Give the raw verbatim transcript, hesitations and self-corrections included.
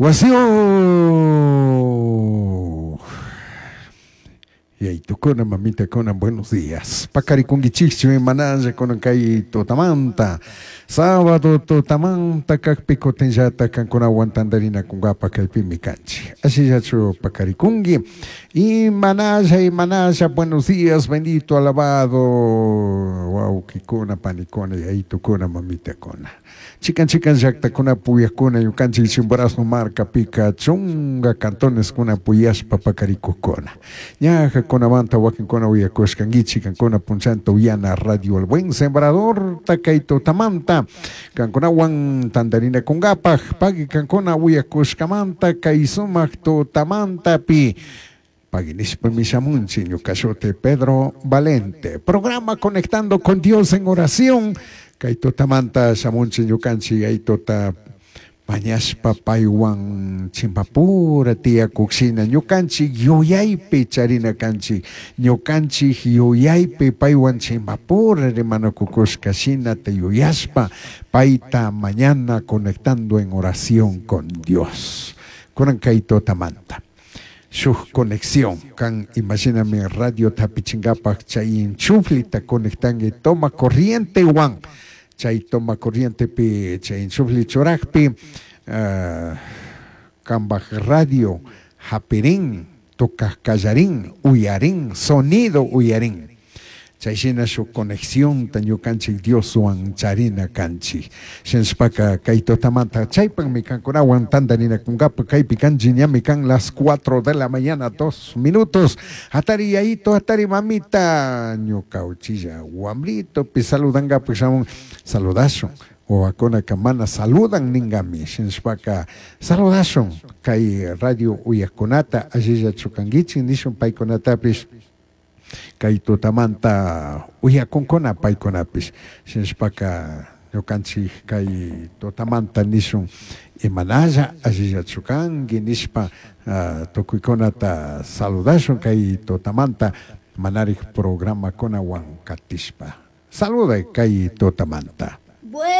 Wasiyuq. Yaitukuna, mamitakuna, buenos días. Paqarikunkichikchu imanalla kunan kay tutamanta. Sábado tutamanta kaqpi kutinllata kankunawan tantarinakunkapa kaypimi kanchik. Ashillachu paqarikunki. Imanalla, imanalla, buenos días, bendito, alabado. Wawqikuna, panikuna, yaitukuna, mamitakuna. Chikan chikan llaqtakuna puyakuna ñukanchik Chimborazo markapika chunka cantoneskuna puyashpa paqarikuqkuna. Ñajakunamanta wakinkuna uyakushkankichik kankuna punchanta uyana Radio El Buen Sembrador kay tutamanta kankunawan tantarinakunkapaq paqui kankuna uyakushkamanta kay sumaq tutamantapi Pagui nishpami shamunchik ñuka shuti Pedro Valente. Programa Conectando con Dios en oración. Kay tutamanta shamunchik ñukanchik yayituta mañashpa paywan chimpapura tiyakukshina ñukanchik yuyaypi charina kanchik ñukanchik yuyaypi paywan chimpapura rimanakukushka shinata yuyashpa payta mañana conectando en oración con Dios. Kunan kay tutamanta. Shuk conexión kan imagíname radio hapichinkapaq chay enchuflita conectanki toma corriente wan chay toma corrientepi chay enchufli churakpi uh, kanpak radio hapirin tocaj kallarin uyarin sonido uyarin chay shina shuk conexiónta ñukanchik Dioswan charina kanchik shinashpaka kay tutamanta chaypakmi kankunawan tantarinakunkapa kaypi kanchik ñami kan las cuatro de la mañana dos minutos hatari yayito hatari mamita ñuka uchilla wambritopi saludankapak shamun saludashun wawakunaka mana saludan ninkami shinashpaka saludashun kay radio uyakkunata allillachu kankichik nishun paykunatapish kay tutamanta uyakunkuna paykunapish shinashpaka ñukanchik kay tutamanta nishun imanalla allillachu kanki nishpa uh, tukuykunata saludashun kay tutamanta manarik programakunawan katishpa saluday kay tutamanta. Bueno.